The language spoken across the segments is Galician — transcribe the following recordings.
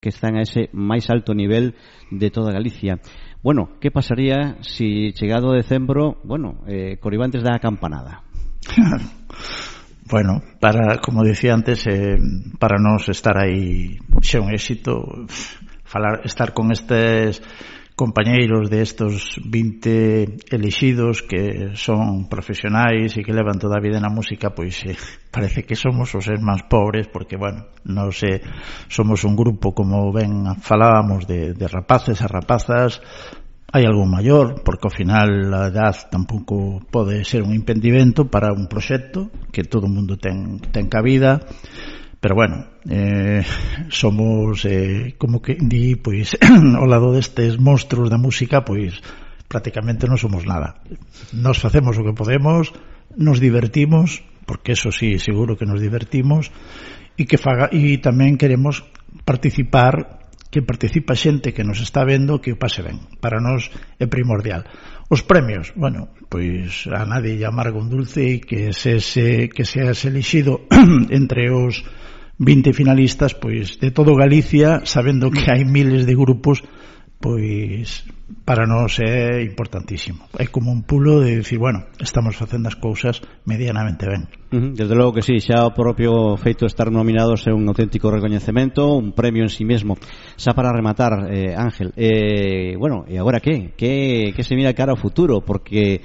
que están a ese máis alto nivel de toda Galicia. Bueno, que pasaría si chegado decembro, Coribantes dá a campanada? Bueno, como decía antes, para nós estar aí xa un éxito, estar con estes compañeiros de estos 20 elixidos que son profesionais e que levan toda a vida na música, pois parece que somos os máis pobres, porque, non sei, somos un grupo, como ben falábamos, de rapaces a rapazas. Hai algún maior, porque ao final a edad tampouco pode ser un impedimento para un proxecto, que todo o mundo ten cabida. Pero somos, como que di, pois, ao lado destes monstruos da música, pois, prácticamente non somos nada. Nos facemos o que podemos, nos divertimos, porque eso sí, seguro que nos divertimos, e tamén queremos participar, que participa xente que nos está vendo, que o pase ben. Para nós é primordial. Os premios, pois a nadie lle amarga un dulce, e que seas elixido entre os 20 finalistas, pois de todo Galicia, sabendo que hai miles de grupos, pois para nós é importantísimo. É como un pulo de dicir, estamos facendo as cousas medianamente ben. Desde logo que sí, xa o propio feito de estar nominados é un auténtico recoñecemento, un premio en sí mesmo. Xa para rematar, Ángel, e agora que se mira cara ao futuro? Porque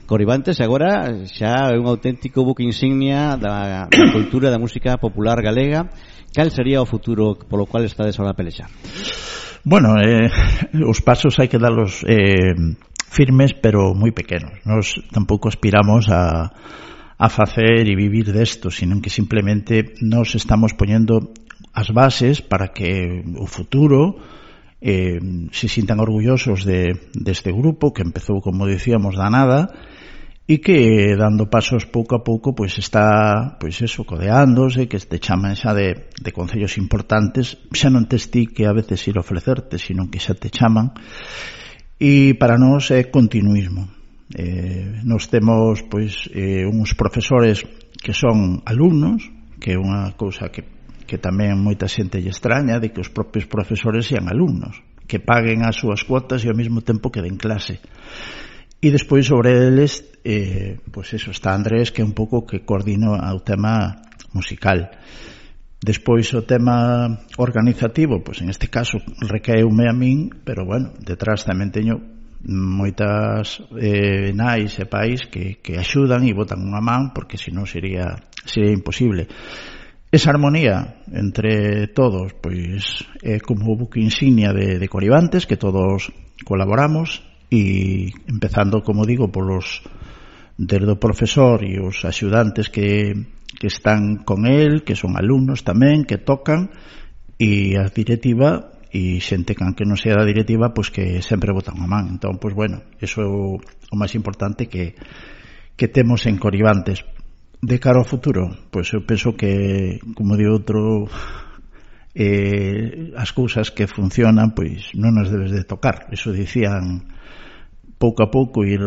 Coribantes agora xa é un auténtico buque insignia da cultura da música popular galega. Cal sería o futuro polo cual estades ahora a pelexar? Os pasos hai que darlos firmes, pero moi pequenos. Nos tampouco aspiramos a facer e vivir desto, sino que simplemente nos estamos poñendo as bases para que o futuro se sintan orgullosos deste grupo que empezou, como decíamos, da nada, e que dando pasos pouco a pouco pois está, pois eso, codeándose, que te chaman xa de concellos importantes, xa non tes ti que a veces ir ofrecerte, sino que xa te chaman, e para nós é continuismo. Nos temos pois uns profesores que son alumnos, que é unha cousa que tamén moita xente lle extraña, de que os propios profesores sean alumnos, que paguen as súas cuotas e ao mesmo tempo que den clase. E despois sobre eles, pois eso, está Andrés, que é un pouco que coordina o tema musical. Despois o tema organizativo, pois en este caso recaeume a min, pero detrás tamén teño moitas nais e pais que axudan e botan unha man, porque senón sería imposible. Esa armonía entre todos, pois é como o buque insignia de Coribantes, que todos colaboramos, e empezando, como digo, desde o profesor e os axudantes que están con el, que son alumnos tamén, que tocan, e a directiva, e xente que non sea da directiva, pois que sempre botan a man. Entón, pois eso é o máis importante que temos en Coribantes. De cara ao futuro, pois eu penso que, como di outro, as cousas que funcionan, pois non as debes de tocar. Eso dicían, pouco a pouco ir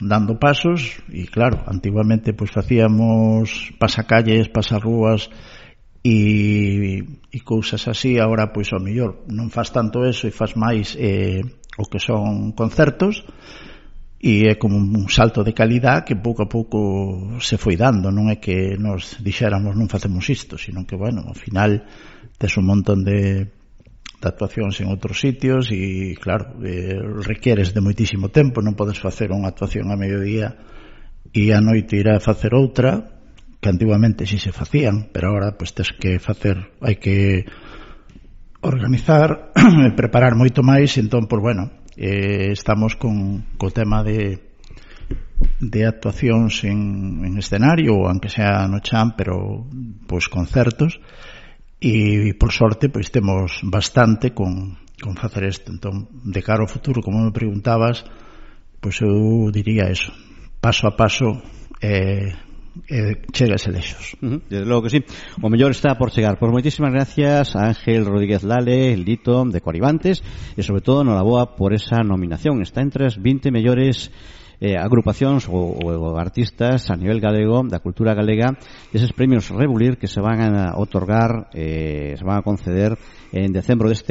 dando pasos, e claro, antiguamente pois facíamos pasacalles, pasarrúas e cousas así. Agora pois ao mellor non faz tanto eso e faz máis o que son concertos, e é como un salto de calidad que pouco a pouco se foi dando. Non é que nos dixéramos non facemos isto, sino que ao final tes un montón de actuacións en outros sitios e claro, requieres de moitísimo tempo. Non podes facer unha actuación a mediodía e a noite ir a facer outra, que antiguamente si se facían, pero agora pois tes que facer, hai que organizar e preparar moito máis. Entón, pois estamos co tema de actuacións en escenario, ou aunque sea no chan, pero pois concertos. E por sorte pois temos bastante con facer isto. Entón, de cara ao futuro, como me preguntabas, pois eu diría eso, paso a paso chega ese lexos. Desde logo que sí, o mellor está por chegar. Pois moitísimas gracias a Ángel Rodríguez Lale, el Dito de Coribantes, e sobre todo enhoraboa por esa nominación. Está entre as 20 mellores agrupacións ou artistas a nivel galego, da cultura galega, deses premios Rebulir que se van a otorgar, se van a conceder en decembro deste